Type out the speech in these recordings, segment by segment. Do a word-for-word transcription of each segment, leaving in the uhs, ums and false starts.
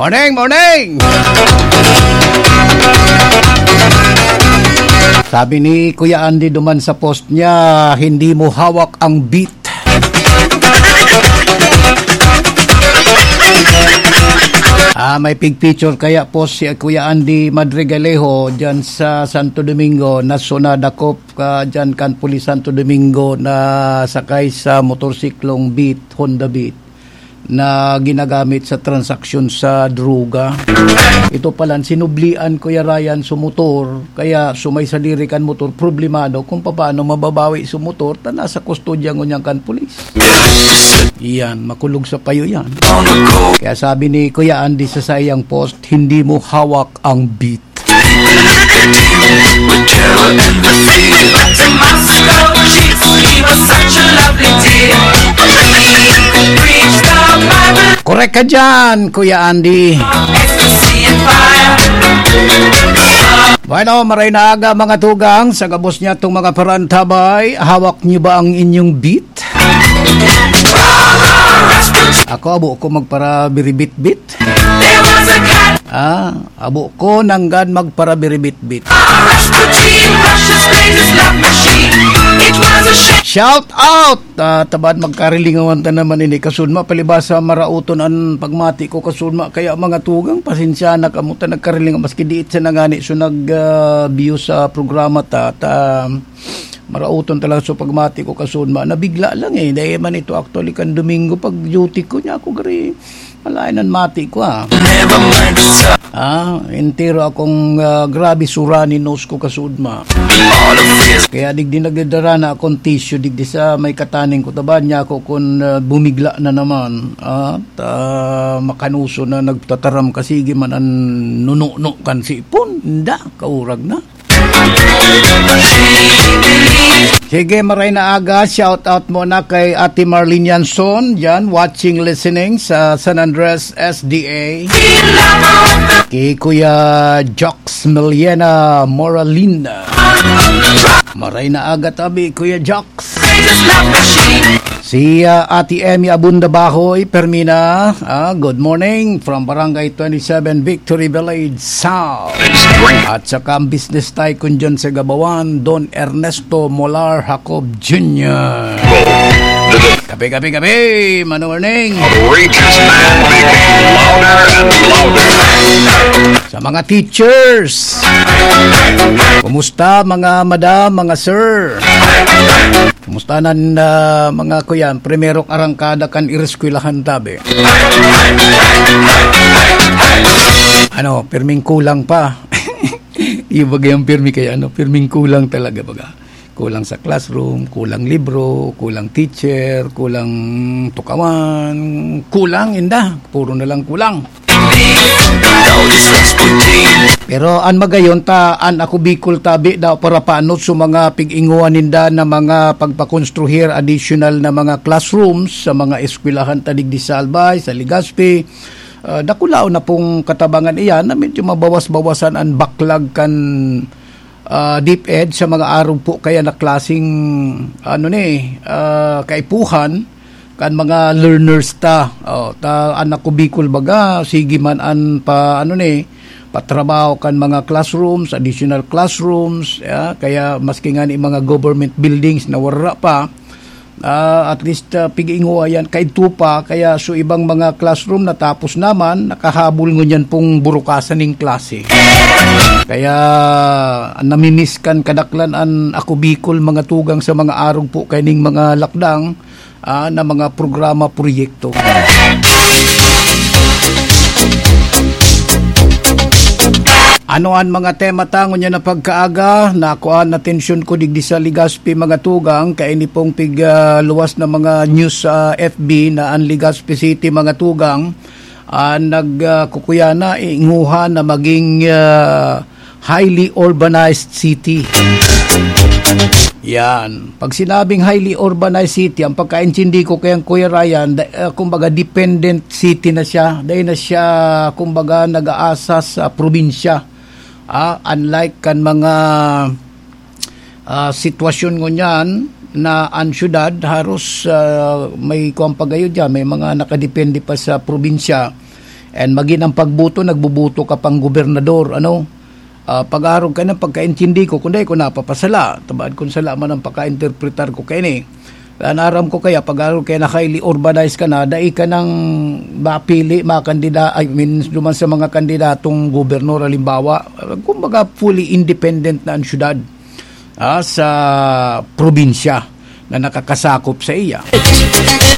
Morning, morning! Sabi ni Kuya Andy duman sa post niya, "Hindi mo hawak ang beat." Ah, may picture kaya post si Kuya Andy Madrigalejo dyan sa Santo Domingo, na sunadakop ka dyan kan Pulis Santo Domingo na sakay sa motorsiklong Beat, Honda Beat, na ginagamit sa transaksyon sa droga. Ito pala, sinublian, Kuya Ryan, su motor, kaya su may sadiri kan motor, problemado kung paano mababawi su motor, ta nasa kustodya ngunyan kan pulis. Iyan, makulog sa payo yan. Kaya sabi ni Kuya Andy sa saiyang post, "Hindi mo hawak ang beat." Korek ka dyan, Kuya Andy. Bueno, maray na aga, mga tugang. Sa gabos niya itong mga parantabay, hawak niyo ba ang inyong beat? Ako, abo ko magparabiribit-bit. Ah, abo ko nanggad magparabiribit-bit. Shout out! Ah, tabad magkarilingawan ta naman ini, kasudma, palibasa marauton an pagmati ko, kasudma. Kaya, mga tugang, pasensya na kamo ta nagkarilingaw, maski diit sa nangani so nag, ah, view sa programa ta, ta, marauton talaga so pagmati ko, kasudma. Nabigla lang eh. Dahil man ito, actually, kan Domingo, pag duty ko niya ako, gari, malain ang mati ko, ah. Ah, entero akong, ah, grabe sura ni nose ko, kasudma. Kaya digdi nagdadara na akong tissue, digdi sa may kataning ko, tabad niya ako kung, ah, bumigla na naman. Ah, ta, makanuso na nagtataram kasi man an nununo kan sipon. Nda, kaurag na. Sige, maray na aga. Shout out muna kay Ate Marlene Yanson, dyan, watching, listening sa San Andres S D A. Kay Kuya Jox Meliana Moralina. Maray na aga tabi, Kuya Jox. Si, ah, Ate Emmy Abunda Bahoy, Permina, ah, good morning from Barangay twenty-seven, Victory Village South. At saka ang business tycoon dyan sa Gabawan, Don Ernesto Molar Jacob Junior. Kape, kape, kape! Mano morning! Outrageous man making louder and louder. Sa mga teachers, kumusta, mga madam, mga sir? Kumusta nan, ah, mga kuyan? Primerong arangkada kan ireskwelahan tabi. Ano, pirming kulang pa. Iba gayang pirmi kaya, ano, pirming kulang talaga, baga. Kulang sa classroom, kulang libro, kulang teacher, kulang tukawan, kulang, inda. Puro na lang kulang. Pero an magayon ta, an Ako Bicol tabi daw parapaanot sa mga pig-inguan ninda na mga pagpakonstruhir additional na mga classrooms sa mga eskwelahan ta digdi sa Albay, sa Legazpi. Ah, dakulaon na pong katabangan iyan na medyo mabawas-bawasan an baklag kan, ah, DepEd sa mga arog po kaya na klaseng, ano ni, ah, kaipuhan kan mga learners ta. Oh, ta, an Ako Bicol baga, sige man an pa, ano ni, patrabaho kan mga classrooms, additional classrooms, ya, kaya maski nga ni mga government buildings na wara pa, ah, at least, ah, pig-inguan yan, kaidto pa, kaya so ibang mga classroom natapos naman, nakahabol ngunyan pong burukasan ning klase. Kaya namimiss kan kadaklan an Ako Bicol, mga tugang, sa mga arog po kaining mga lakdang, ah, na mga programa, proyekto. Ano an mga tema ta ngunyan na pagkaaga? Nakuan atensyon ko digdi sa Legazpi, mga tugang, kaini pong pig, ah, luwas na mga news sa F B na an Legazpi City, mga tugang, ah, nag, ah, kukuya na, inguha na maging, ah, highly urbanized city. Yan. Pag sinabing highly urbanized city, ang pagkaintindi ko kay Kuya Ryan, da-, ah, kumbaga dependent city na siya. Dahil na siya, kumbaga, nag-aasa sa probinsya. Ah, unlike kan mga, ah, sitwasyon ngunyan na ang syudad, haros, ah, may kuwan pa gayo dyan, may mga nakadepende pa sa probinsya. And magin ang pagboto, nagboboto ka pang gobernador, ano? Ah, pag-arog ka na, pagkaintindi ko, kung dai ko napapasala, tabad kung sala man ang pagkainterpretar ko kaini. Ang aram ko kaya, pag-arog kaya na highly urbanized ka na, dai ka nang mapili, makandida-, I mean, duman sa mga kandidatong gobernador, halimbawa, kumbaga, fully independent na ang syudad, ah, sa probinsya na nakakasakop sa iya.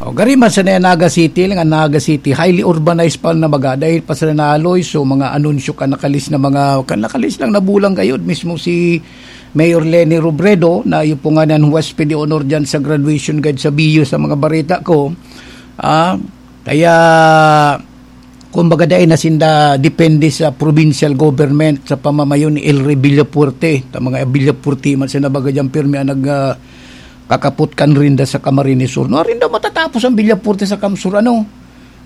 O, gari man sa Naga City, lang ang Naga City, highly urbanized pa na baga, dahil pa sa naloy, so mga anunsyo ka nakalis na mga, ka nakalis lang na bulang gayod, mismo si Mayor Leni Robredo, na iyo po nga ng Huwes de Honor dyan sa graduation guide sa B U sa mga barita ko. Ah, kaya, kumbaga, dai na sinda depende sa provincial government sa pamamayo ni El Rey Villafuerte. Ta mga Villafuerte man sa nabaga dyan, pirmi ang nag, ah, kakapot kan rinda sa Camarines Sur. No, rinda matatapos ang Villafuerte sa Camsur, ano?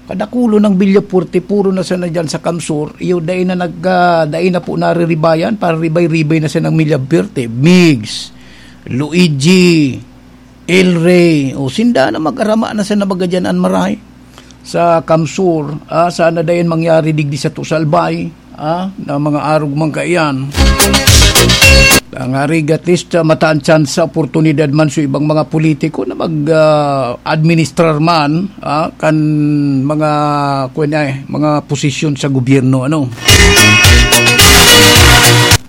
Kadakulo ng Villafuerte, puro na sana dyan sa Camsur. Iyo, dai na nag, ah, dai na po nariribayan, para ribay-ribay na sana ng Villafuerte. Migs, Luigi, El Rey, o sinda na mag-arama na sa nabaga dyan an maray. Sa Camsur, ah, sana dayon mangyari digdi sa Tusalbay, ah, na mga arog man kaiyan. Ang arigat lista, mataan chance sa oportunidad man sa ibang mga politiko na mag, ah, administrar man, ah, kan mga, kuwan ay, mga posisyon sa gobyerno, ano.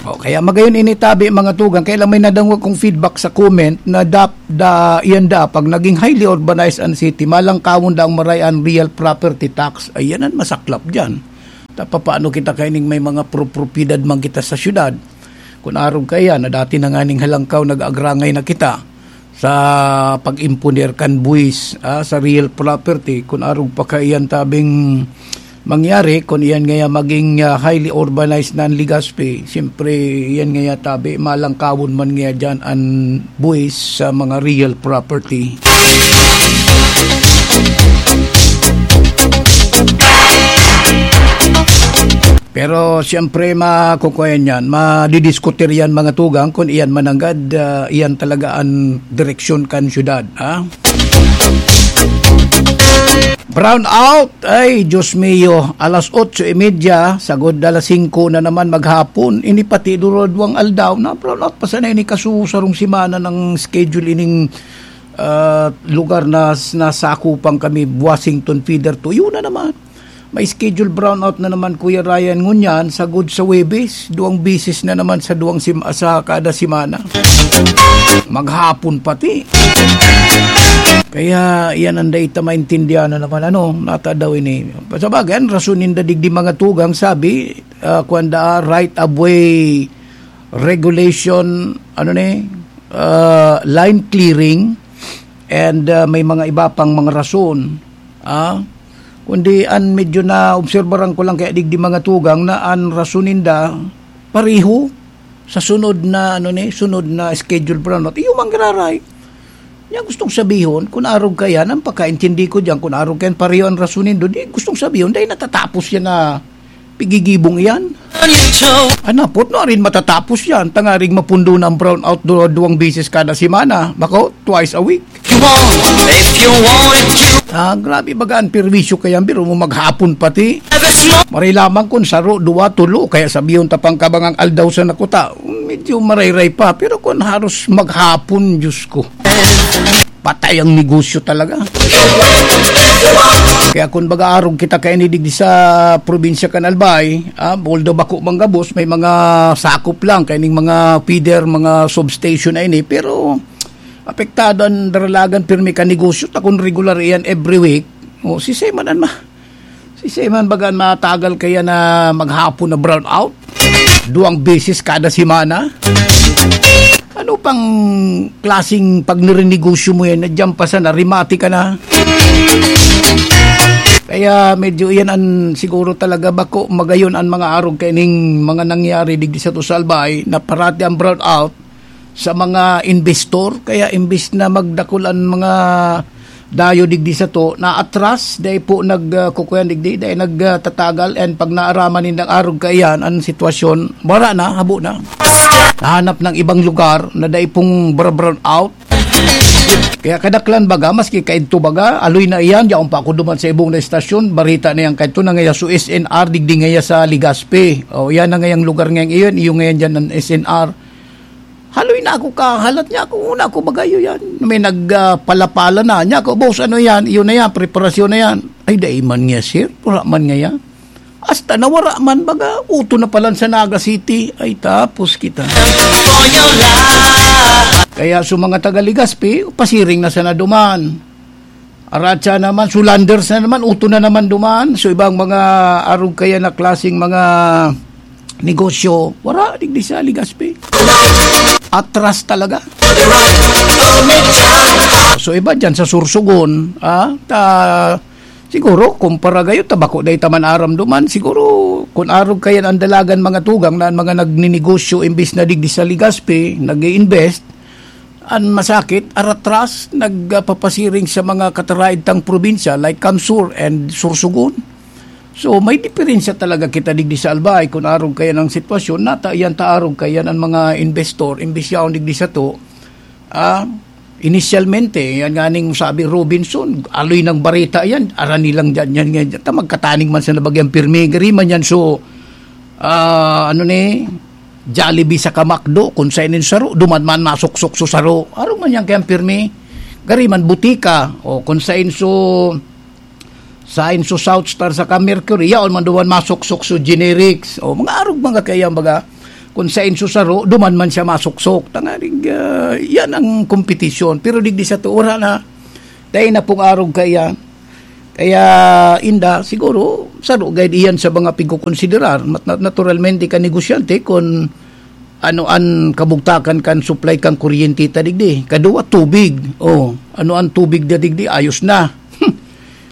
O, kaya magayon ini tabi, mga tugang, kaya lang may nadangog kong feedback sa comment na dap-, da, iyan da, pag naging highly urbanized ang city, malangkawon da ang maray an real property tax. Ayan ang masaklap dyan. Ta, papaano kita kaining may mga pro-, propiedad man kita sa syudad? Kung arog kaya na dati na nga ning halangkaw, nag-agrangay na kita sa pag-imponer kan buwis, ah, sa real property, kun arog pa kaiyan tabing mangyari, kun iyan ngaya maging, ah, highly urbanized na an Legazpi, siyempre, iyan ngaya tabi, malangkawon man ngaya diyan an buwis sa mga real property. Pero siyempre, makukuha yan, madidiskutir yan, mga tugang, kung iyan mananggad, ah, iyan talaga an direksyon kan syudad, ha? Brown out! Ay, Diyos mio, alas otso y media, sagod alas singko na naman maghapon. Ini pati durodwang aldaw na brown out pa sana ini kasusarong semana ng schedule ining, ah, lugar na s-, nasakupan kami, Washington Feeder two. Yun na naman. May schedule brownout na naman, Kuya Ryan, ngunyan, sagod sa Huwebes, duwang beses na naman sa duwang sim-, sa kada semana. Maghapon pati. Kaya, yan ang data maintindihan na naman, ano, nata daw ini. Sa bagay, ang rason ninda digdi mga tugang, sabi, ah, kuwan da, right of way regulation, ano ni, ah, line clearing, and, ah, may mga iba pang mga rason. Ah, kundi an medyo naobserbaran ko lang kaya digdi mga tugang na an rason ninda pareho sa sunod na, ano ni, sunod na schedule brownout. Iyo man giraray. Yan gustong sabihon, kun arog kaya, nang pagkaintindi ko diyan, kun arog kaya pareho an rason nindo, di gustong sabihon, dahil natatapos yan na pigigibong iyan. Anapot no, arin matatapos yan. Tangaring mapundo na ang brownout do, duwang beses kada semana. Bako, twice a week. Ah, grabe baga ang perwisyo kaya, biro mo maghapon pati. Maray lamang kun saro, duwa, tulo, kaya sabihon ta pang kabangang aldaw sa nakuta. Medyo marayray pa, pero kun haros maghapon, Diyos ko. Patay ang negosyo talaga. Kaya kun baga arog kita kaini digdi sa probinsya kan Albay, ah, although bako man gabos, may mga sakop lang kaining mga feeder, mga substation na ini, pero apektado ang Daralagan pirmi kan negosyo, ta kun regular iyan every week, o, si Seman an ma-, si Seman baga an matagal kaya na maghapon na brownout? Duwang beses kada semana? Ano pang klaseng pagnirenegosyo mo yan? Nandiyan pa sa narimati ka na. Kaya medyo iyan an siguro talaga bako magayon an mga arog kaining mga nangyari digdi sa Tusalbay na parati ang brownout sa mga investor. Kaya imbis na magdakul an mga dayo digdi sato, naatras, dai po nag, ah, kukuyan digdi, dai nag, ah, tatagal, and pag naaraman nindang arog kaiyan, ang sitwasyon, wala na, habo na. Nahanap ng ibang lugar na dai pong bra-, brown out. Kaya kadaklan baga, maski kaidto baga, aloy na iyan, yaon pa ako duman sa ibong na estasyon, barita na yan kaidto na ngaya sa S N R, digdi ngaya sa Legazpi. O, yan na ngayang lugar ngayang iyon, iyo ngayon dyan ang S N R. Haloy na ako kahalat niya ako, una ako baga iyo yan. May nagpalapala na niya ako, "Boss, ano yan? Iyo na yan, preparasyon na yan." "Ay, dai man niya, sir. Wala man ngaya." Hasta nawara man baga, uto na palan sa Naga City. Ay, tapos kita. Kaya sa mga taga Legazpi, pasiring na sana duman. Aratsa naman, sulanders na naman, uto na naman duman. So, ibang mga arog kaya na klaseng mga negosyo, wala, digdi sa Legazpi. Atras talaga. So, iba dyan sa Sorsogon, ah, ta, siguro, kumpara gayo, tabako dahil taman aram duman, siguro, kung arog kaya ang dalagan mga tugang na ang mga nagninegosyo, imbis na digdi sa Legazpi, nag-i-invest, an masakit, aratras, nagpapasiring sa mga kataraid tang probinsya like Kamsur and Sorsogon. So, may diferensya talaga kita digdi sa Albay kung arog kaya ng sitwasyon. Nata, yan ta arog kaya ng mga investor, imbis yaon digdi sa to. Ah, inisyalmente, yan nga ning sabi Robinson, aloy ng barita yan, arani lang dyan, yan nga dyan. Ta magkataning man sa nabagyang pirmi, gari man yan. So, ah, ano ni, Jollibee sa kamakdo, kung sa inin saro, duman man masuksok so saro. Arog man yan kayang pirmi. Gari man butika, o kung sa inso, sa inso South Star sa ka Mercury, yaon man duman masuksok so generics. O mga arog mga kayang baga, kung sa inso saro, duman man siya masuksok. Tanganing, ah, yan ang kompetisyon. Pero digdi sa to, wala na. Dahil na pong arog kaya. Kaya, inda, siguro, saro gayud iyan sa mga pigkokonsiderar. Mat-, nat-, naturalmente, ka negosyante, kung ano an kabugtakan kan supply kan kuryente ta digdi. Kadua, tubig. Oh, ano an tubig da digdi? Ayos na.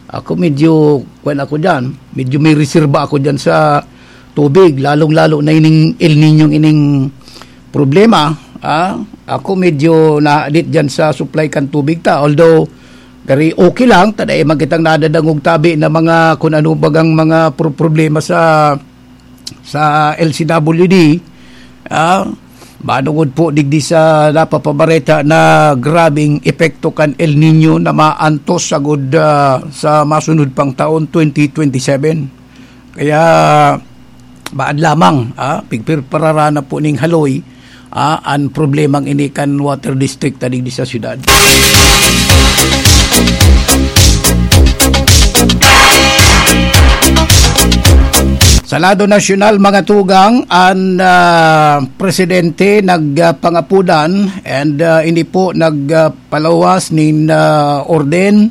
Ako medyo, kwan ako dyan. Medyo may reserba ako dyan sa tubig. Lalong-lalo na ining El Niño ining problema. Ah, ako medyo nahadit dyan sa supply kan tubig ta. Although, gari okay lang, ta dai man kitang nadadangog tabi na mga kun ano bagang mga pro-, problema sa, sa L C W D. Ah, manungod po digdi sa napapabareta na grabing epekto kan El Niño na maantos sagud, ah, sa masunod pang taon, twenty twenty-seven. Kaya, baad lamang, ah, pigpirpararana po ning haloy, ah, an problemang ini kan water district ta digdi sa syudad. Sa lado nasyonal, mga tugang, an, ah, presidente nagpangapudan and, ah, ini po nagpalawas nin, ah, orden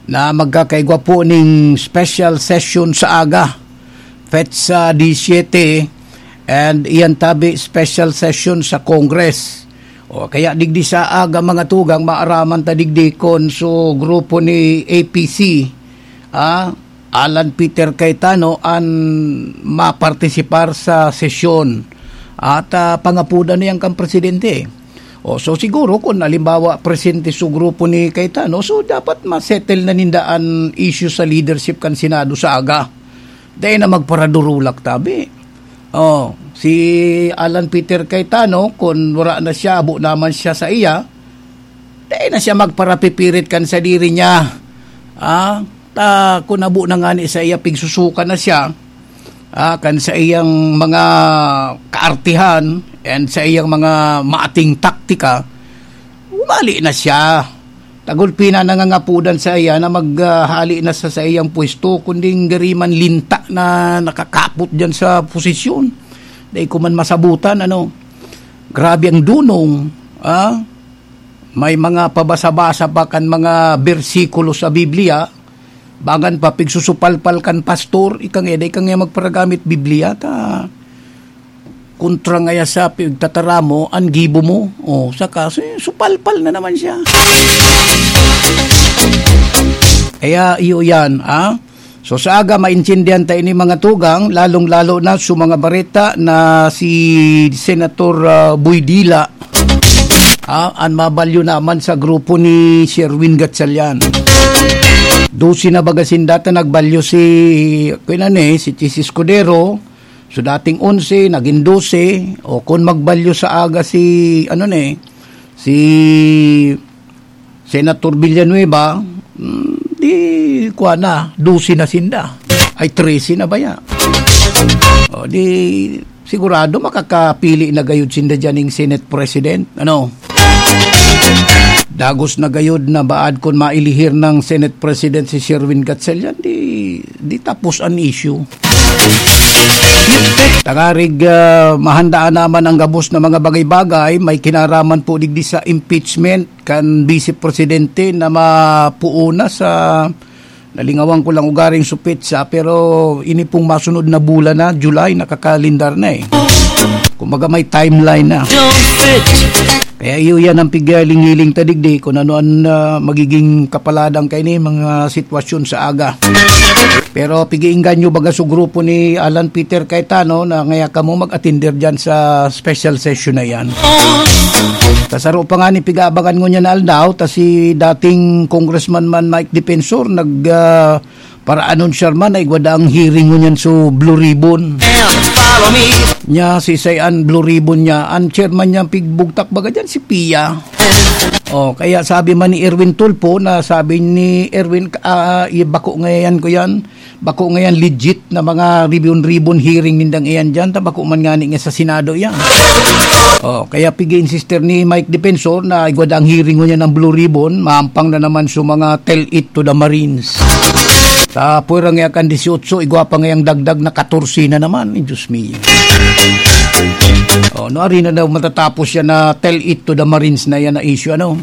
na magkakaigwa po ning special session sa aga, petsa disiete, and iyan tabi special session sa Congress. O kaya digdi sa aga, mga tugang, maaraman ta digdi kon so grupo ni A P C, ah, Alan Peter Cayetano an mapartisipar sa sesyon at, ah, pangapudan niyan kan presidente. O, so siguro kun halimbawa presente so grupo ni Cayetano, so dapat ma-settle na ninda an issue sa leadership kan Senado sa aga. Dai na magparadurulak tabi. O, si Alan Peter Cayetano, kun wara na siya, abo naman siya sa iya, dai na siya magparapipirit kan sadiri niya. Ah, ta, kun abo na ngani sa iya, pigsusukan na siya, ah, kan sa iyang mga kaartihan and sa iyang mga maating taktika, umali na siya. Tagulpi na nangangapudan sa iya na maghali na sa saiyang pwesto, kundi gari man linta na nakakapot diyan sa posisyon. Dai ko man masabutan, ano. Grabe ang dunong, ah. May mga pabasa-basa pa kan mga bersikulo sa Biblia, bagan pa pigsusupalpal kan pastor, ika nga, dai ka nga magparagamit Biblia, ta kontra ngaya sa pigtataramo an gibo mo. O, saka, su-, supalpal na naman siya. Kaya, iyo yan, ah. So, sa aga, maintindihan ta ini mga tugang, lalong-lalo na sa mga bareta na si Senator, ah, Boy Dila, ah, an mabalyo naman sa grupo ni Sherwin Gatchalian. Dose na baga sinda ta nagbalyo si, kuya na ni, si Chis Escudero, So, dating onse, nagin dose, o kun magbalyo sa aga si, ano ni, si, Senator Villanueva, mm, di, kuha na, dose na sinda. Ay, trese na ba ya? O, di, sigurado makakapili na gayud sinda dyan ng Senate President. Ano? Dagos na gayud na baad kun mailihir ng Senate President si Sherwin Gatchalian, di, di tapos an issue. Tangarig, ah, mahandaan naman ang gabos na mga bagay-bagay, may kinaraman po digdi sa impeachment kan Vice Presidente na mapuuna sa, nalingawan ko lang ugaring supit sa, pero ini pong masunod na bulan na, July, nakakalendar na eh. Kumbaga may timeline na. Kaya iyo yan ang pigaling-hiling ta digdi kung ano ang, ah, magiging kapaladan kaini mga sitwasyon sa aga. Pero pigiinggan nyo baga sa grupo ni Alan Peter Cayetano na ngaya kamo mag-attender dyan sa special session na yan. Kasaro pa nga ni pigaabangan ngunyan na aldaw, ta si dating Congressman man Mike Defensor nag, ah, para-anunsiyar man na igwa daang hearing ngunyan so Blue Ribbon. Nya si Sayan Blue Ribbon niya, ang chairman niya pigbugtak baga dyan si Pia. Oh, kaya sabi man ni Erwin Tulfo na sabi ni Erwin, ah, i-, bako ngayan ko yan. Bako ngayan legit na mga ribbon-ribbon hearing nindang iyan dyan. Ta bako man ngani nga sa Senado yan. Oh, kaya pigi-insister ni Mike Defensor na igwa daang hearing ngunyan ang Blue Ribbon, maampang na naman sa mga tell it to the Marines. Sa pwera nga kan dieciocho, igwa pa ngayang dagdag na katorse na naman. Ay, Diyos mio. Oh, no, ari na daw matatapos yan na tell it to the Marines na yan na issue, ano?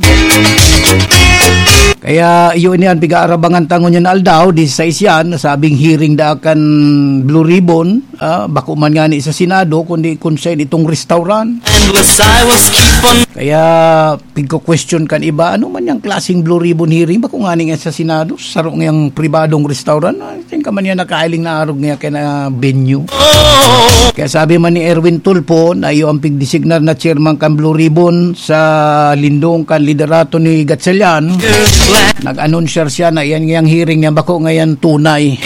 Kaya iyo ini an pigaarabangan ta ngunyan na aldaw, dieciséis yan, nasabing hearing da kan Blue Ribbon, ah, bako man ngani sa Senado, kundi kung saan itong restaurant. Endless, I will keep on. Kaya pigko-question kan iba, ano man yang klaseng Blue Ribbon hearing, bako ngani nga sa Senado, saro ngayang pribadong restaurant, ah, saan ka man yan nakailing na arog nga kaya na venue? Kaya sabi man ni Erwin Tulfo na iyo ang pigdesignar na chairman kan Blue Ribbon sa lindong kan liderato ni Gatchalian, nag-anunsyar siya na iyan ngayang hearing niya bako ngayan tunay.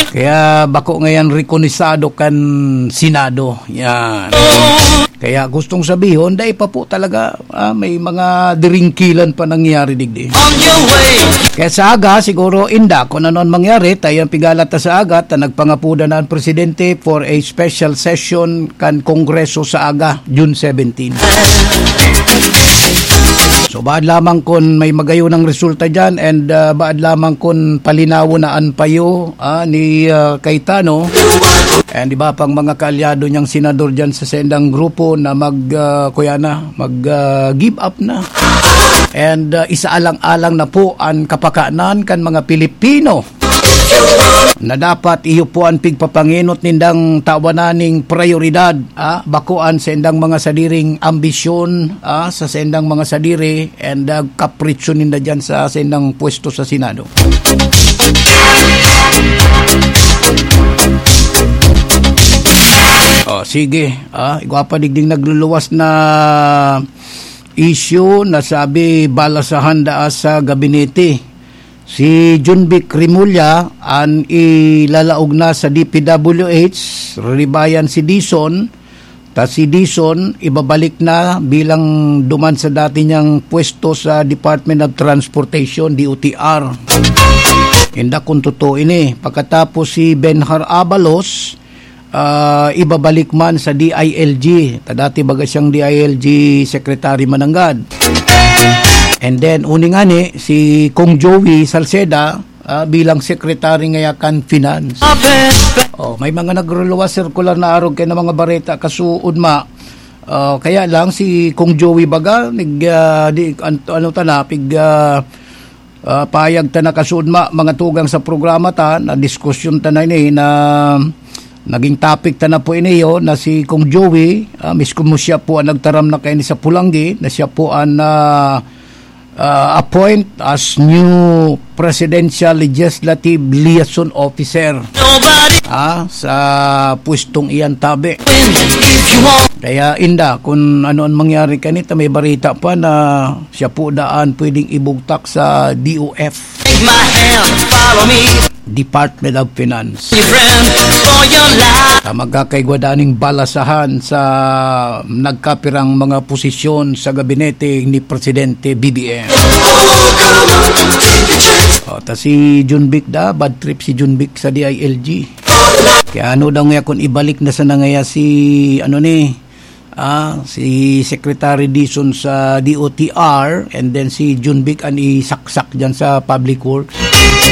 Kaya bako ngayan rekonisado kan Senado. Yan. Kaya gustong sabihon, dai pa po talaga, ah, may mga diringkilan pa nangyayari digdi. On your way. Kaya sa aga, siguro, inda, kung ano ang mangyari, tayo ang pigalat na sa aga, ta nagpangapuda na ang presidente for a special session kan Kongreso sa aga, June seventeen. So, baad lamang kun may magayon ang resulta dyan and, ah, baad lamang kun palinawon na an payo, ah, ni, ah, Cayetano and iba pang mga kaalyado niyang senador dyan sa sendang grupo na mag, ah, kuya na, mag, ah, give up na. And, ah, isaalang-alang na po an kapakanan kan mga Pilipino na dapat iyo po an pigpapangenot nindang tawanan ning prayoridad, ah, bako an sendang mga sadiring ambisyon, ah, sa sendang mga sadiri and, ah, kapritso ninda dyan sa sendang pwesto sa Senado. Oh, sige, ah, igwa pa digding nagluluwas na issue na sabi balasahan daa sa gabinete. Si Jonvic Remulla an ilalaog na sa D P W H, riribayan si Dizon, ta si Dizon ibabalik na bilang duman sa dati niyang pwesto sa Department of Transportation, D O T R. Inda kung totoo ini. Pagkatapos si Benhur Abalos, ah, ibabalik man sa D I L G. Ta dati baga siyang D I L G secretary mananggad. And then, uni ngani, si Kong Joey Salceda, ah, bilang secretary ngaya kan finance. Oh, may mga nagruluwas circular na arog kay na mga bareta kasuod ma. Ah, kaya lang si Kong Joey baga, nag, ah, di, an-, ano ta na, pig, ah, Ah, payag ta nakasudma, mga tugang sa programa ta, na diskusyon ta na ini, na naging topic ta na po ini, yo, na si Kong Joey, ah, mismo siya po ang nagtaram na kaini sa Pulanggi, na siya po ang, ah, ah, appoint as new Presidential Legislative Liaison Officer. Ah, sa pwestong iyan tabi. Kaya inda, kung ano ang mangyari kanita, may barita pa na siya po daan pwedeng ibugtak sa D O F. Take my hand, follow me. Department of Finance. Friend, for your life. Sa magkakaigwa daning balasahan sa nagkapirang mga posisyon sa gabinete ni Presidente B B M. O, ta si Jun Vic da, bad trip si Jun Vic sa D I L G. Kaya ano daw nga kung ibalik na sana ngaya si, ano ni, ah, si Secretary Dizon sa D O T R, and then si Jun Vic an isaksak dyan sa Public Works.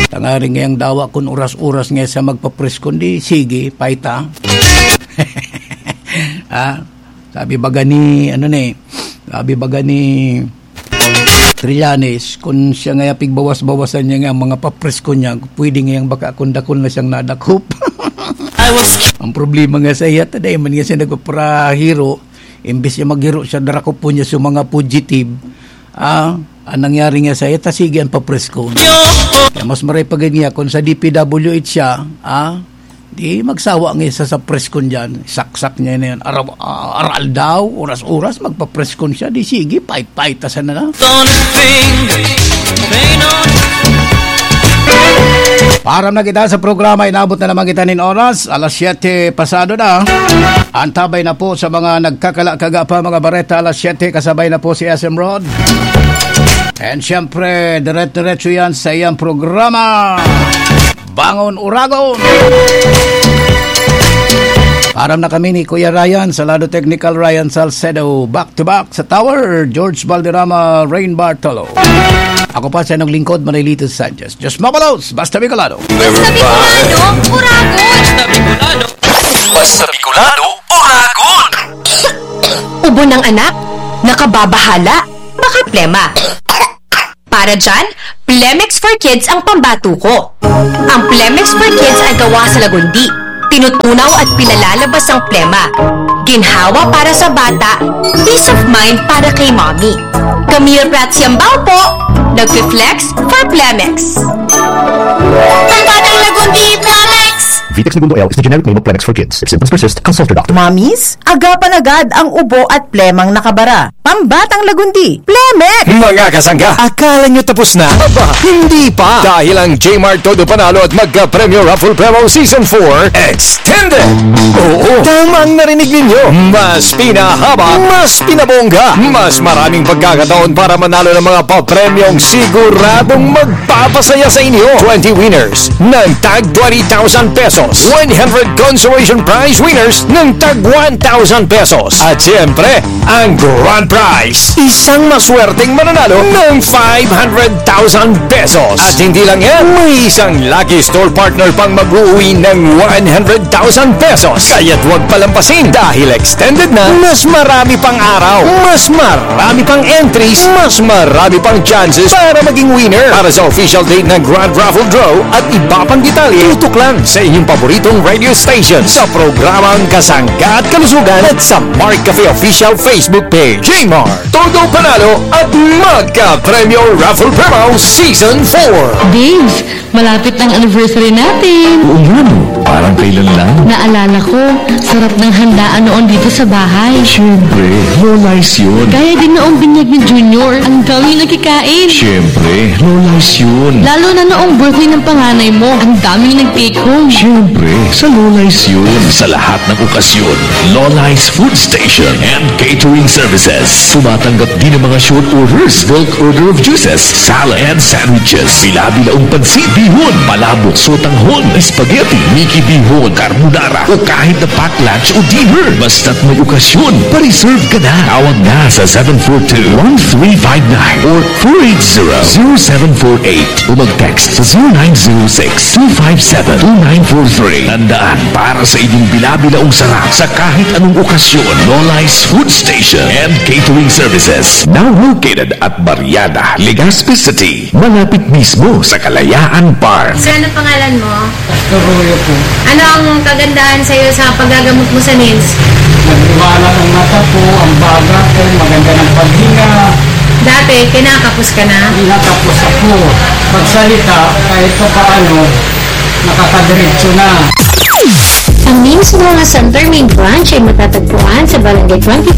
Tangaring ngayang dawa kun oras-oras nga sa magpa-press con, di sige, paita. Ah, sabi baga ni, ano ni, sabi baga ni Trillanes, kun siya nga pigbawas-bawasan niya nga ang mga pa-press con niya, pwede ngayang baka kun dakul na siyang nadakop. I was Ang problema nga sa iya, taday man nga siya nagpaparahiro, imbis niya maghiro siya, darakop po niya sa mga fugitive. Ah, ang nangyari nga sa iya, ta sige ang pa-press con. Kaya mas maray pa gid niya, kung sa D P W H siya, ah, di magsawa nga isa sa press con dyan, saksak niya na yan. Araw, ah, aral daw, oras-oras, magpa-press con siya, di sige, pait-pait, ta sana na. Param na kita sa programa, inabot na naman kita nin oras, alas siyete pasado na. Antabay na po sa mga nagkakalakaga pa, mga bareta, alas siyete, kasabay na po si S M Rod. And siyempre, diret-diretso yan sa iyang programa, Bangon Uragon. Param na kami ni Kuya Ryan, sa lado technical, Ryan Salcedo. Back to back sa tower, George Valderrama, Rain Bartolo. Ako pa sa inyong lingkod, Manuelito Sanchez. Diyos mabalos, basta Bicolano. Basta Bicolano, Uragon! Basta Bicolano, Uragon! Ubo ng anak, nakababahala, baka plema. Para dyan, Plemex for Kids ang pambato ko. Ang Plemex for Kids ay gawa sa lagundi. Tinutunaw at pinalalabas ang plema. Ginhawa para sa bata, peace of mind para kay mommy. Camille Prats Yambao po, nagfi-flex for Plemex. Pambatang lagundi, Plemex! Vitex Negundo L is the generic name of Plemex for Kids. If symptoms persist, consult your doctor. Mommies, agapan agad ang ubo at plemang nakabara. Pambatang lagundi, Plemex! Mga kasangga, akala nyo tapos na? Aba, hindi pa! Dahil ang J-Mart Todo Panalo at Magka Premyo Raffle Promo Season four extended! Oo, tama ang narinig ninyo! Mas pinahaba, mas pinabongga, mas maraming pagkakataon para manalo ng mga papremyong siguradong magpapasaya sa inyo. Twenty winners ng tag twenty thousand pesos, one hundred consolation prize winners ng tag one thousand pesos, at siyempre, ang grand prize, isang maswerteng mananalo ng five hundred thousand pesos. At hindi lang yan, may isang lucky store partner pang mag-uuwi ng one hundred thousand pesos. Kaya't huwag palampasin dahil extended na, mas marami pang araw, mas marami pang entries, mas marami pang chances para maging winner. Para sa official date ng Grand Raffle Draw at iba pang detalye, tutok lang sa inyong paboritong radio station sa programang Kasangga at Kalusugan at sa Mark Cafe Official Facebook Page. J-Mart, Todo Panalo at Magka Premyo Raffle Promo Season four. Babes, malapit na ang anniversary natin. Oo nga, no? Parang kailan lang. Naalala ko, sarap ng handaan noon dito sa bahay. Siyempre, Lola's yun. Gaya din noong binyag ni Junior. Ang daming nagkikain. Siyempre, Lola's yun. Lalo na noong birthday ng panganay mo. Ang daming nag-take home. Siyempre, sa Lola's yun. Sa lahat ng okasyon, Lola's Food Station and Catering Services. Tumatanggap din ng mga short orders, bulk order of juices, salad, and sandwiches. Bila-bilaong pansit, bihon, palabok, sotanghon, spaghetti, miki bihon, carbonara, o kahit na pack lunch o dinner. Basta't may okasyon, pa-reserve ka na. Tawag na sa seven four two, one three five nine or four eight zero, zero seven four eight o mag-text sa zero nine zero six, two five seven, two nine four three. Tandaan, para sa inyong bila-bilaong sarap sa kahit anong okasyon, Lola's Food Station and Catering Services. Now located at Barriada, Legazpi City, malapit mismo sa Kalayaan Park. Sir, ano pangalan mo? Pastor Royo po. Ano ang kagandahan sa'yo sa paggagamot mo sa nails? Nagbumalat ang mata ko, ang baga ko, maganda ng paghinga. Dati, kinakapos ka na? Kinakapos ako. Pagsalita, kahit pa paano, nakakadiretso na. Ang nails mo nga center main branch ay matatagpuan sa Barangay twenty